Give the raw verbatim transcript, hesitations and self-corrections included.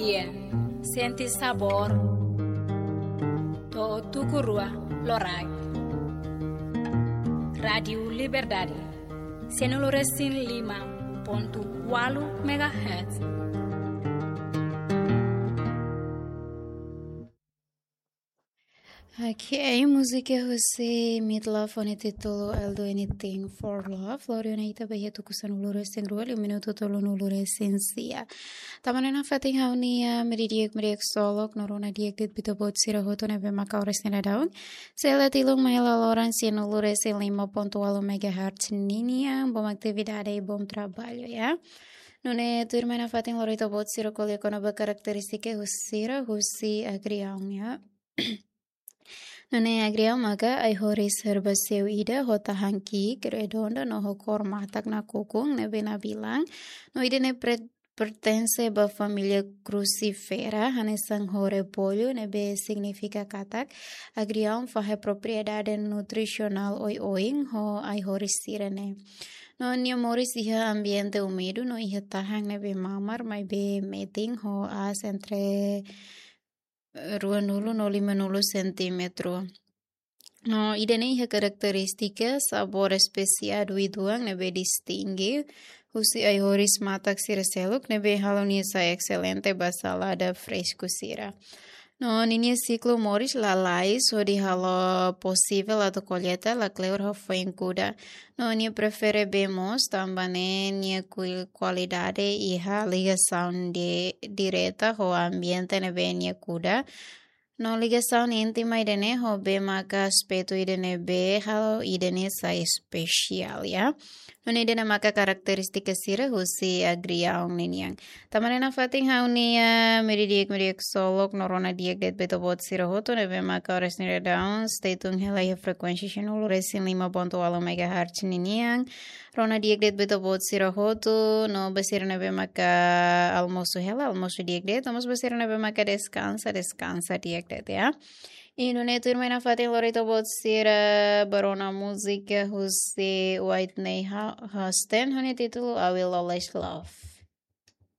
Sente sabór. To'o tuku rua loraik. Rádiu Liberdade. Sianulu resin lima pontu ualu megahertz. Oke, múzika husi Midlove ho nia títulu I'll Do Anything for Love. Lori ona ita ba iha tuku sanulu resin rua, liu minutu tolunulu resin sia. Tanba ne'e nafatin ha'u-nia, ah, meiudia di'ak, meiudia di'ak ksolok, no rona di'ak de'it ba ita-boot sira hotu ne'ebé maka oras ne'e daudaun sei hela tilun mai hela loron sianulu resin lima pontu ualu megahertz ninian, bom atividade i bom trabalho, ya. Nune'e tuirmai nafatin lori ita-boot sira ko'alia kona-ba karakterístika husi sira, husi agriaun, ya. Nune'e agriaun maka ai-horis herbáceu ida ho tahan ki'ik, redonda no ho kór matak nakukun ne'ebé nabilan. No ida-ne'e pre-, pertense ba família Crucifera, hanesan ho repollu, ne'ebé signifika katak agriaun fahe propriedade nutrisionál oioin ho ai-horis sira-ne'e. No nia moris iha ambiente úmidu no iha tahan ne'ebé mamar maibé metin ho aas entre ruanulu no limanulu sentímetru. No ida-ne'e iha karakterístika sabór espesiál uitoan ne'ebé distinge husi ai-horis matak sira seluk ne'ebé halo nia sai exelente ba salada fresku sira. No ninia siklu moris lalais hodi halo posivel atu kolleita lakleur ho foin kuda. No nia prefere bee moos, tanba ne'e nia kui-, kualidade iha ligasaun di-, direta ho ambiente ne'ebé nia kuda. No ligasaun íntima ida-ne'e ho bee maka aspetu ida ne'ebé halo ida-ne'e sai espesiál, ya. No ida-ne'e maka karakterístika sira husi agriaun ninian. Tanba ne'e nafatin ha'u-nia, ah, meiudia di'ak, meiudia di'ak ksolok, no rona di'ak de'it ba ita-boot sira hotu ne'ebé maka oras ne'e daudaun sei tun hela iha frekuénsia sianulu resin lima pontu ualu megahertz ninian. Rona di'ak de'it ba ita-boot sira hotu, no ba sira ne'ebé maka almosu hela, almosu di'ak de'it, no mós ba sira ne'ebé maka deskansa, deskansa di'ak de'it, ya. I nune'e tuirmai nafatin lori ita-boot sira ba rona múzika husi Whitney Hu-, Houston, ho nia títulu I Will Always Love.